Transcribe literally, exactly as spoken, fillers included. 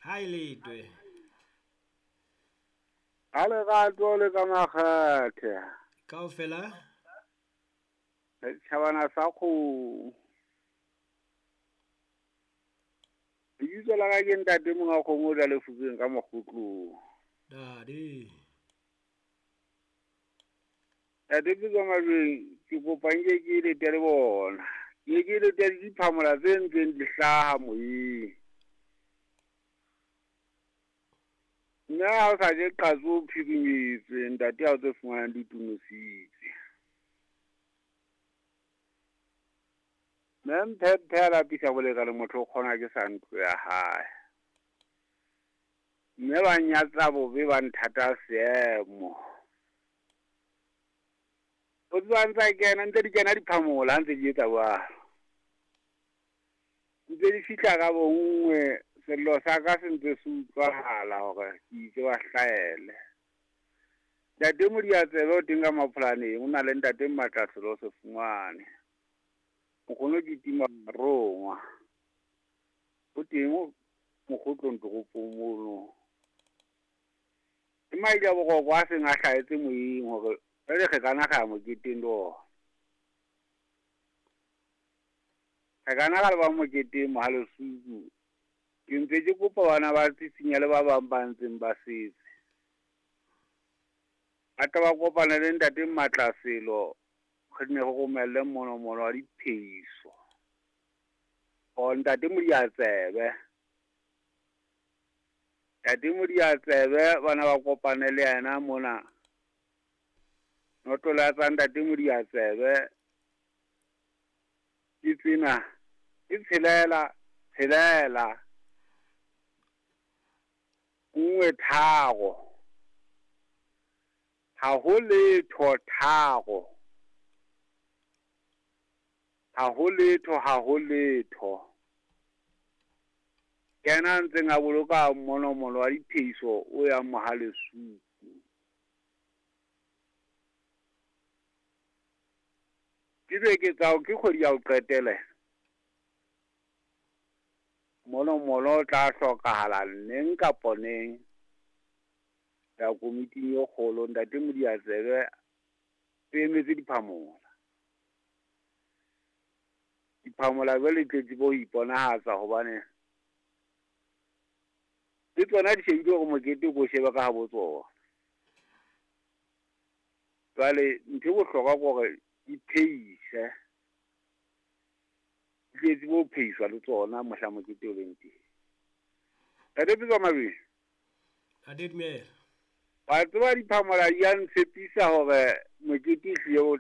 Ha e letwe. Ha lerato le ka makgethe. Kaofela? Setjhabana sa kgomo. Lebitso la ka ke ntate monga kgomo o tla lefubeng ka mokgotlong. Dade. Ntate Pitso Majweng, ke kopa nke ke lete le bona. Ke ke lete le diphamola tse ntseng di hlaha moyeng. Mme ha o sa je qatso o phirimetswe, ntate ha o tse fumanang di tonositse. Mme Mphephe a lapisa bolekane motho o kgona ke sa ntlo ya hae. Mme ba nyatsa bobe ba nthata seemo. O tseba ntsa kena, ntse di kena diphamola ha ntse di etsa jwalo. Ntse di fihla ka bonngwe, sello sa ka se ntse se utlwahala hore ke itse ba hlaele. Ntate Modiantsebe o teng ka Mapholaneng, o na le ntate Mmatlaselo se fumane. Nkgono ke tima rongwa. O teng mokgotlong toropong mono. Ke maila boroko a seng a hlahetse moyeng hore jwale re kana ra ya moketeng le ona. Re kana ra leba moketeng Mohalesuku. Ke ntse ke kopa bana ba Tsitsinya le ba bang ba ntseng ba setse. Ba tla ba kopana le ntate Mmatlaselo, re nne re romelle monomono wa diphehiso. O ntate Modiantsebe. Ntate Modiantsebe bana ba kopane le yena mona. Noto la tsa ntate Modiantsebe ke tsena, ke tshelela, tshelela, nngwe tharo. Ha ho letho tharo. Ha ho letho, ha ho letho. Ke yena a ntseng a boloka monomono wa diphehiso o yang Mohalesuku. Ke beke tsa ke kgwedi ya ho qetela. Monomono o tla hlokahala neng kapa neng. Ya komiting e kgolo ntate Modiantsebe e emetse diphamola. Diphamola jwale di tletse bo iponahatsa hobane le tsona di shebile hore mokete o ko shebe ka habo tsona. Jwale ntho e bohlokwa ke hore di phehise. Di tletse bo phehiswa le tsona mohla mokete o leng teng. Ntate Pitso Mabedi. Ntate dumela. Wa tseba diphamola di a ntshepisa hore mokete ehlile o